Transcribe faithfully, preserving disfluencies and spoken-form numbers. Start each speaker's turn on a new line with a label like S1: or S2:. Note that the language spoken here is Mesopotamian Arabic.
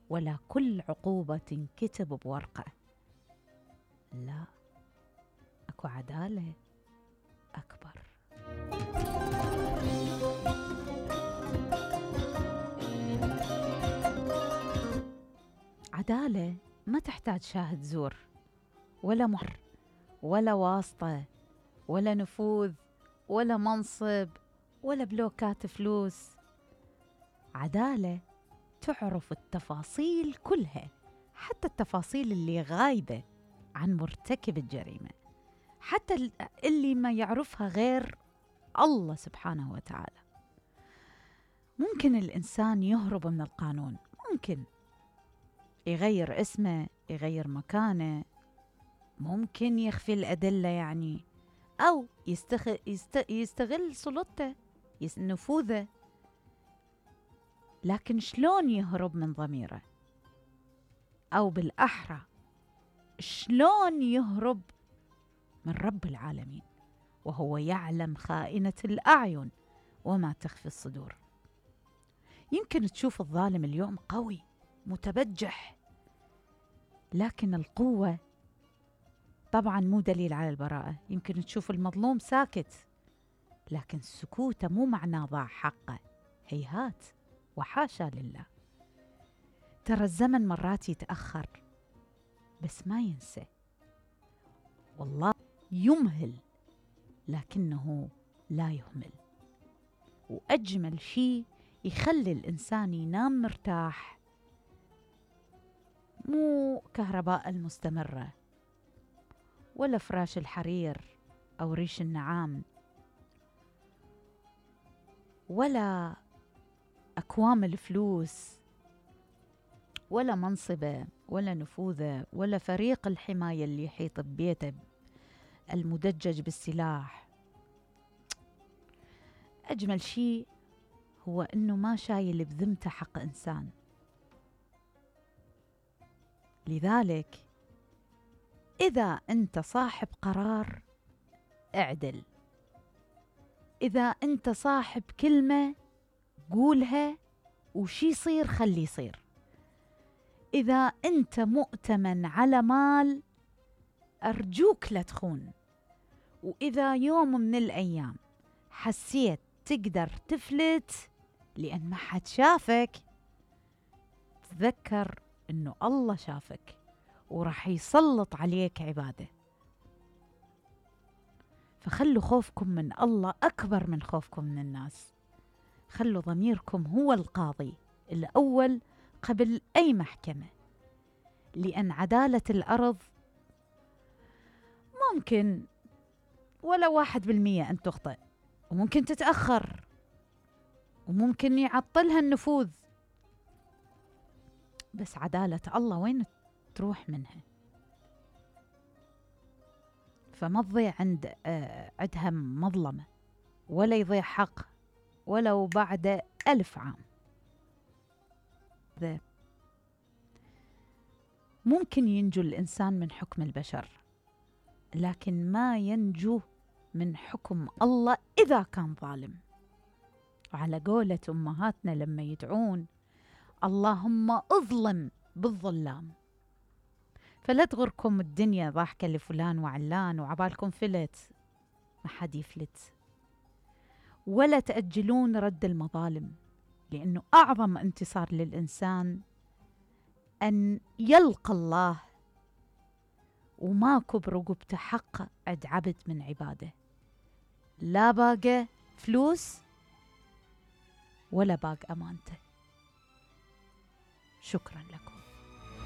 S1: ولا كل عقوبة تنكتب بورقة. لا، اكو عدالة أكبر. عدالة ما تحتاج شاهد زور ولا مهر ولا واسطة ولا نفوذ ولا منصب ولا بلوكات فلوس. عدالة تعرف التفاصيل كلها، حتى التفاصيل اللي غايبة عن مرتكب الجريمة، حتى اللي ما يعرفها غير الله سبحانه وتعالى. ممكن الإنسان يهرب من القانون، ممكن يغير اسمه، يغير مكانه، ممكن يخفي الأدلة يعني، أو يستغل, يستغل سلطته، نفوذه. لكن شلون يهرب من ضميره؟ أو بالأحرى شلون يهرب من رب العالمين وهو يعلم خائنة الأعين وما تخفي الصدور؟ يمكن تشوف الظالم اليوم قوي متبجح، لكن القوة طبعا مو دليل على البراءة. يمكن تشوف المظلوم ساكت، لكن سكوته مو معناه ضاع حقه، هيهات وحاشا لله. ترى الزمن مرات يتأخر بس ما ينسى، والله يمهل لكنه لا يهمل. وأجمل شيء يخلي الإنسان ينام مرتاح، مو كهرباء المستمرة ولا فراش الحرير أو ريش النعام ولا أكوام الفلوس ولا منصبه ولا نفوذه ولا فريق الحماية اللي يحيط ببيته المدجج بالسلاح. أجمل شيء هو أنه ما شايل بذمته حق إنسان. لذلك إذا أنت صاحب قرار اعدل، إذا أنت صاحب كلمة قولها، وشي يصير خلي يصير. إذا أنت مؤتمن على مال أرجوك لا تخون. وإذا يوم من الأيام حسيت تقدر تفلت لأن ما حد شافك، تذكر إنه الله شافك وراح يسلط عليك عباده. فخلوا خوفكم من الله أكبر من خوفكم من الناس. خلوا ضميركم هو القاضي الأول قبل أي محكمة، لأن عدالة الأرض ممكن ولا واحد بالمية أن تخطئ، وممكن تتأخر، وممكن يعطلها النفوذ، بس عدالة الله وين تروح منها؟ فما تضيع عند آه عندها مظلمة، ولا يضيع حق ولو بعد ألف عام. ذا ممكن ينجو الإنسان من حكم البشر، لكن ما ينجو من حكم الله إذا كان ظالم. وعلى قولة أمهاتنا لما يدعون اللهم اظلم بالظلام. فلا تغركم الدنيا ضاحكة لفلان وعلان وعبالكم فلت، ما حد يفلت. ولا تأجلون رد المظالم، لأنه أعظم انتصار للإنسان أن يلقى الله وماكو برقبته حق عد عبد من عباده، لا باقى فلوس ولا باقى أمانته. شكرا لكم.